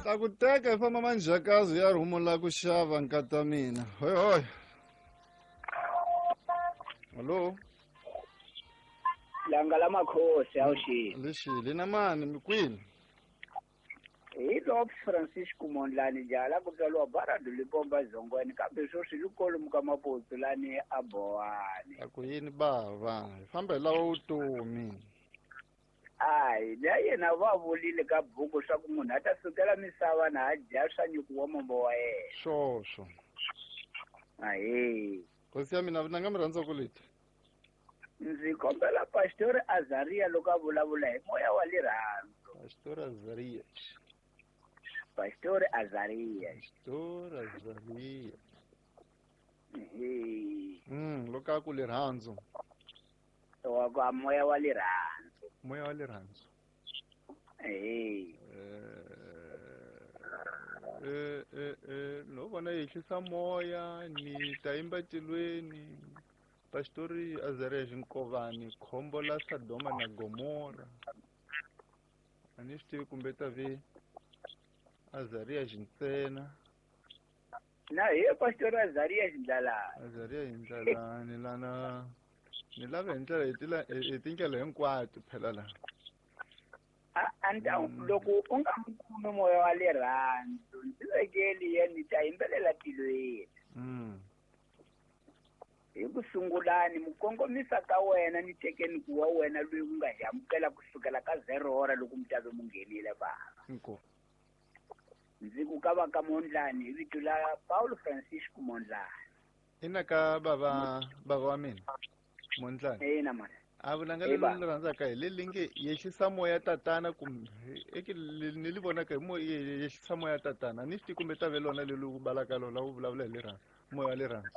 Ta ku teka hi famba manjhakazi ya rhumula ku xava nkata mina. Hoy hoy. Hallo. Langa la makhosi awuxini. Lexi na mani mi kwini? Hi Lopes Francisco Mondlane jala ku tswariwa Baradu Lipomba Zongweni kambe sweswi li kolomu ka Maputsu lani a Bowani. A ku yini bava? Hi famba hi lava vutomi. Hayi, na yena va vulile ka buku swa ku munhu a ta sukela misava na a dya swa nyuku wa mombo wa yena. Swoswo. Ahee. Hosi ya mina na nga mi rhandza ku leti. Ndzi kombela Pastor Azaria loko a vulavula hi moya wa lirhandzu. Pastor Azaria. Pastor Azaria. Pastor Azaria. Ehe. Loko a ku lirhandzu. Wa ku moya wa lirhandzu. Moya wa lirhandzu. Ehe. No vona yehlisa moya ni ta yimba tilweni. Pastori Azaria Xinkovani khombo la Sodoma na Gomora. A ni swi tivi kumbe ta vi Azaria Xintsena. Na hi Pastori Azaria Xindlalani. Azaria Xindlalani lana ni lava hi ndlela hi tindlela hinkwato phela la. A loko u nga n'wi kumi moya wa lirhandzu ndzi vekeli yena ni ta yimbelela tilweni. Hi ku sungulani mukongomisa ka wena ni tekeni ku wa wena loyi u nga hi amukela kusukela ka 0 hora loko mi ta ve mu nghenile bava. Inkomu. Ndzi ku ka va ka Mondlane hi vito la Paulo Francisco Mondlane. Ina ka bava wa mina Mondlane. Ina mana. A vulanga leri ni rhandzaka hi leri nge yehlisa moya tatana kumbe eke ni li vonaka hi moya yehlisa moya tatana ni swi tivi kumbe ta ve lona leri u balaka lona u vulavula hi lerhandzu moya wa lerhandzu.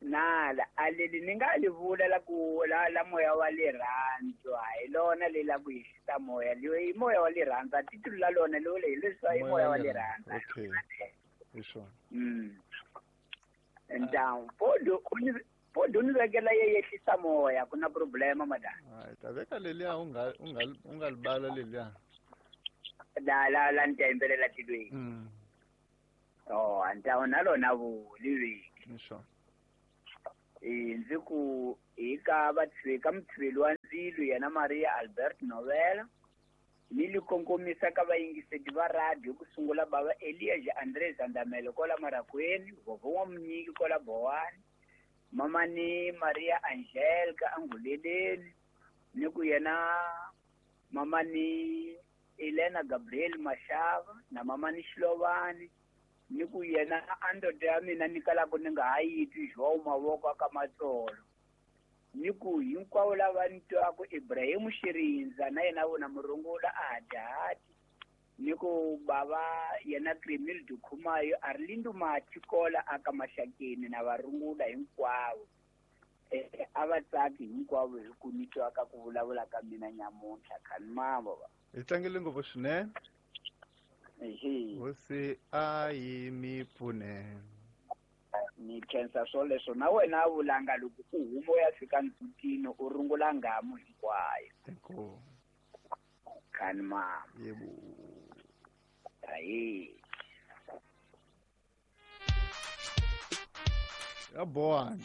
Nala a leli ni nga li vula la ku la moya wa lerhandzu a hi lona leri la ku yehlisa moya leyi moya wa lerhandzu a titulu la lona lowu leyi leswi i moya wa lerhandzu. Okay. Hi swona. Ntawu podo ni vekela ye yehlisa moya ku na problema madam. Hayi ta veka leliya u nga libala leliya. La la la ni ta yimbelela tilweni. Oh, ntawu na lona vuli veki. Hi swona. Ndzi ku hi ka ka mutshiveli wa ndzilo yena Maria Albert Novela ni li kongomisa ka vayingiseti va radio ku sungula bava Elias Andres Andamelo kola Marakweni, Vovo wa Munyiki kola Bowani, mama ni Maria Angelica Anguleleni ni ku yena mama ni Elena Gabriel Mashava na mama ni Xilovani ni ku yena a ndoda ya mina ni kalaka ni nga ha yi twi João Mavoko ka Matsolo ni ku hinkwavo lava ni twaku Ibrahim Xirindza na yena vona murungula a hatihati ni ku bava yena Crimil Dukhumayo Arlindo Mathi kola aka Maxakeni na varungula hinkwavo a va tsaki hinkwavo hi ku ni twaka ku vulavula ka mina nyamuntlha khani mavo va. Hi tlangele ngopfu swinene. Hosi a yi mi pfune. Ni khensa swoleswo na wena a vulanga loko u huma u ya fika ndzhutini u rungula ngamu hinkwayo. Inkomu. Khani mama. Yebo. Ayi. Ya Bowani.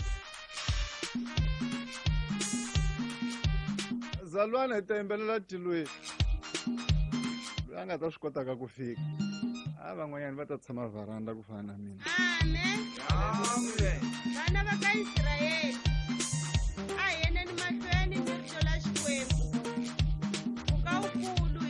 Zalwana hi ta yimbelela tilweni. Loyi a nga ta swi kotaka ku fika. A van'wanyana va ta tshama vharanda ku fana na mina. Amen.